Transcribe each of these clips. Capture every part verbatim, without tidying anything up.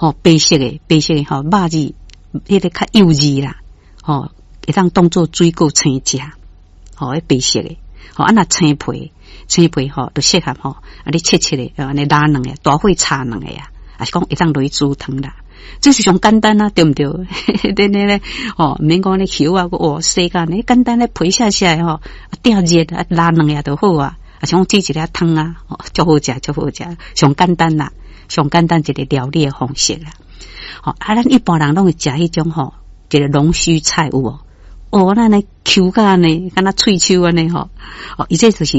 吼，白色的，白色的吼，肉質彼个較幼稚啦，吼，會當當做水果生食，吼，彼白色的，吼，啊若青皮，青皮吼，就適合吼，啊你切切的，按呢抐兩个，大火炒兩个啊，抑是講會當落去煮湯啦。這是上簡單啊，對毋對？恁咧咧，吼，毋免講咧抾啊，哦，洗甲呢簡單咧皮卸卸吼，啊，鼎熱啊，抐兩个就好啊。啊，像煮一个湯啊，足好食，足好食，上簡單啦，上簡單一個料理的方式啦。吼，啊，咱一般人攏會食彼種吼，一個龍鬚菜有無？哦，咱呢抾甲按呢，敢若喙鬚按呢吼。哦，伊這就是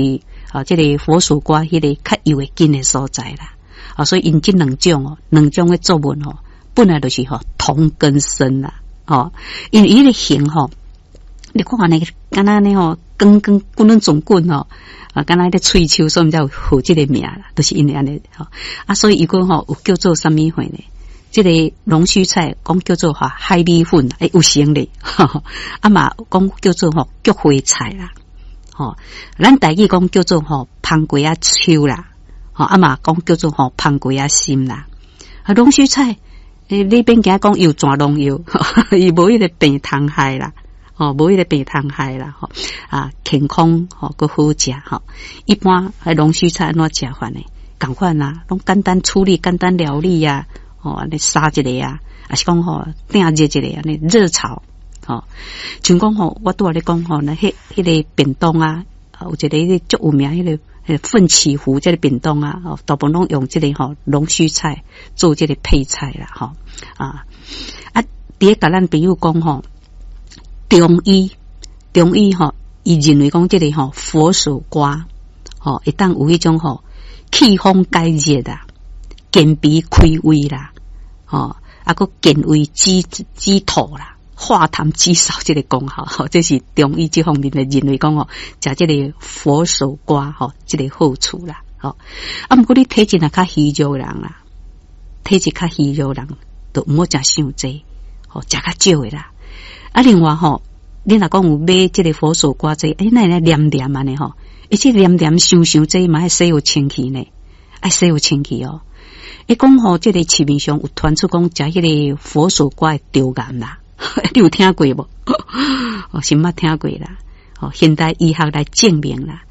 哦，這个佛手瓜彼个較幼的根的所在啦。哦，所以𪜶這兩種哦，兩種的作物吼，本來就是吼同根生啦。吼，因為伊个形吼，你看按呢，敢若按呢吼，光光滾滾轉滾吼。啊，敢若彼喙鬚，所以才有號這个名啦，都是因為按呢吼。啊，所以伊講吼有叫做啥物貨呢？這个龍鬚菜講叫做吼海米粉，欸，有成咧。啊嘛講叫做吼菊花菜啦，吼，咱台語講叫做吼番瓜仔鬚啦，吼啊嘛講叫做吼番瓜仔心啦。啊，龍鬚菜，欸，你免驚講有蛇農藥，伊無彼个病蟲害啦。吼，無彼个病蟲害啦，吼啊，健康吼，閣好食吼。一般彼龍鬚菜按怎食法呢？仝款啊，攏簡單處理、簡單料理啊，吼，按呢炒一个啊，抑是講吼鼎熱一个按呢熱炒，吼。像講吼，我拄仔咧講吼，那彼彼个便當啊，有一個彼個足有名彼个彼個奮起湖這个便當啊，哦，大部分攏用這个吼龍鬚菜做這个配菜啦，吼啊啊，佇咧共咱朋友講吼。中醫，中醫吼，伊認為講這个吼佛手瓜，吼會當有彼種吼祛風解熱啦，健脾開胃啦，吼啊閣健胃止止吐啦，化痰止嗽這个功效，吼，這是中醫這方面的認為講吼，食這个佛手瓜吼，這个好處啦，吼啊，毋過你體質若較虛弱的人啦，體質較虛弱的人，就毋好食傷濟，吼，食較少的啦。啊，另外吼，你若講有買這个佛手瓜這個，欸，哪會黏黏按呢吼？欸，這黏黏傷傷濟嘛愛洗予清氣呢，愛洗予清氣哦。伊講吼，這个市面上有傳出講食彼個佛手瓜會著癌啦，你有聽過無？哦，是毋捌聽過啦。哦，現代醫學來證明啦，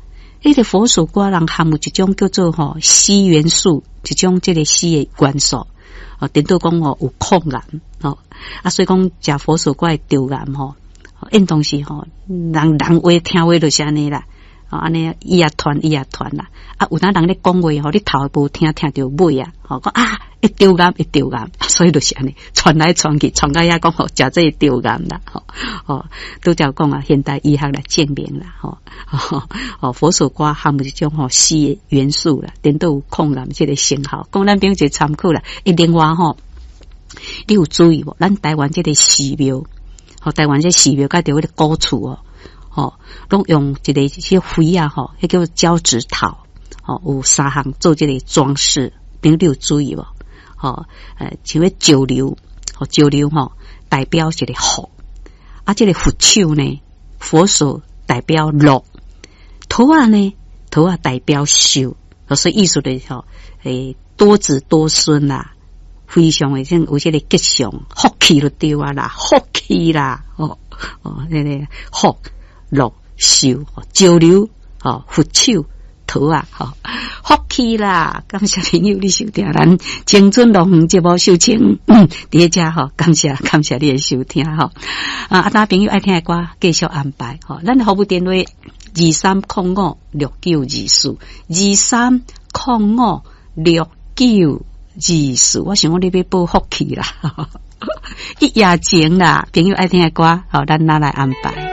彼個佛手瓜內含有一種叫做吼硒元素，一種這个硒的元素。哦，顛倒講吼有抗癌，吼啊，所以講食佛手瓜會著癌吼，應當是吼人人話聽話就是按呢啦，哦，按呢伊也傳伊也傳啦，啊，有當人咧講話吼，你頭無聽聽著尾啊，吼講啊會著癌會著癌，所以就是按呢傳來傳去，傳到遐講吼食這會著癌啦，吼哦，拄才講啊，現代醫學來證明啦，吼哦，佛手瓜含有一種吼硒的元素啦，顛倒有抗癌這个成效，供咱朋友一個參考啦。欸，另外吼，你有注意無？咱台灣這个寺廟，吼，台灣這寺廟佮著彼个古厝哦，吼，攏用一个這花啊，吼，彼叫交趾桃，吼，有三項做這个裝飾，朋友你有注意無？吼，呃，像彼石榴，吼，石榴吼，代表一个福，啊，這个佛手呢，佛手代表樂，桃仔呢，桃仔代表壽，所以意思就是吼，欸，多子多孫啦，非常的這有這个吉祥，福氣就對啊啦，福氣啦，哦哦，那个福樂壽，石榴，哦，佛手。桃仔，吼，福氣啦！感謝朋友你收聽咱青春樂園節目秀清，佇咧遮吼，感謝感謝你的收聽吼。啊，啊，當朋友愛聽的歌，繼續安排吼。咱的服務電話二三空五六九二四，二三空五六九二四。我想講你欲報福氣啦，一夜情啦，朋友愛聽的歌，好，咱拿來安排。